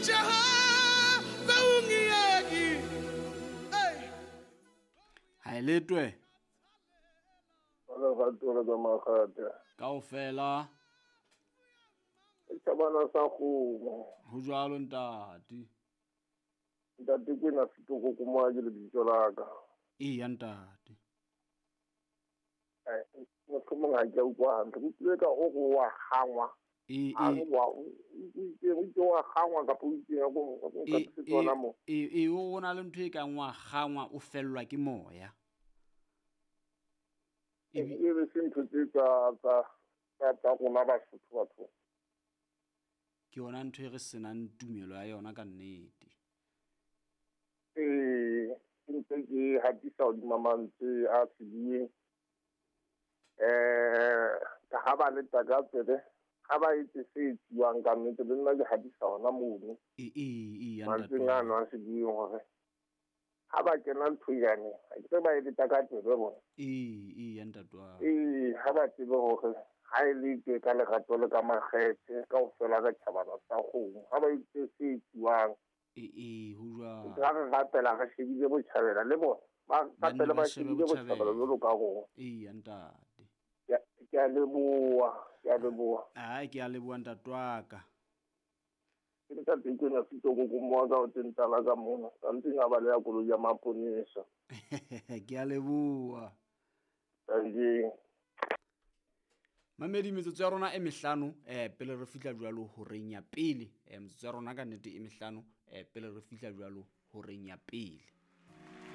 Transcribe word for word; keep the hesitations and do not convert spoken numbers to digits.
Jehova ungiyeki. Hey. Ha e letwe. Wala ga tsa magate. Kaofela. Tjhabana sa kgomo. Ho jwalo ntate. Ntate ke na fitoko ko mo ke lebitso la ka. Eya ntate. Eh, mohlomong ha ke a utlwa hantle. Ke utlwile ka o re wa kgangwa. E A e re wa o itse o itse wa kgangwa kapa o itseng ko e nka tsona mo. e e o na le ntho e kang wa kgangwa o fellwa ke moya. E be se ntho tse tsa tsa tsa tsa rona Basotho batho. Ke yona ntho e re senang tumelo ya yona ka nnete. Eh, ke ntse ke hatisa hodima mantswe a sebueng. Eh, ka ha ba le taka tsebe, ha ba etse se etsuwang ka nnete, le nna ke hatisa hona mono. E e e ya ntate. Mantsweng ano a sebueng hore ha ba kena ntho yane, ha ke ba e le taka tsebe bona. E e ya ntate wa. Eh, ha ba tsebe hore ha e le tje ka lerato le ka makgethe kaofela ka tjhabana sa kgomo, ha ba etse se etsuwang. E e ho jwalo. Ra re rapela re shebile botjhabela le bona. Ba rapela ba shebile botjhabela jwalo ka rona. E ya ntate. Ke a leboha, ke a leboha. Ai ke a leboha ntate wa ka. Ke ntate ke na fitoko ko mo ka o tentala ka mona. Ka ntse nga ba le ya koloi ya maponesa. Ke a leboha. Thank Mamedi metsotso ya rona e mehlano eh pele re fihla jwalo horeng ya pele. Eh metsotso ya rona ka nnete e mehlano eh pele re fihla jwalo horeng ya pele.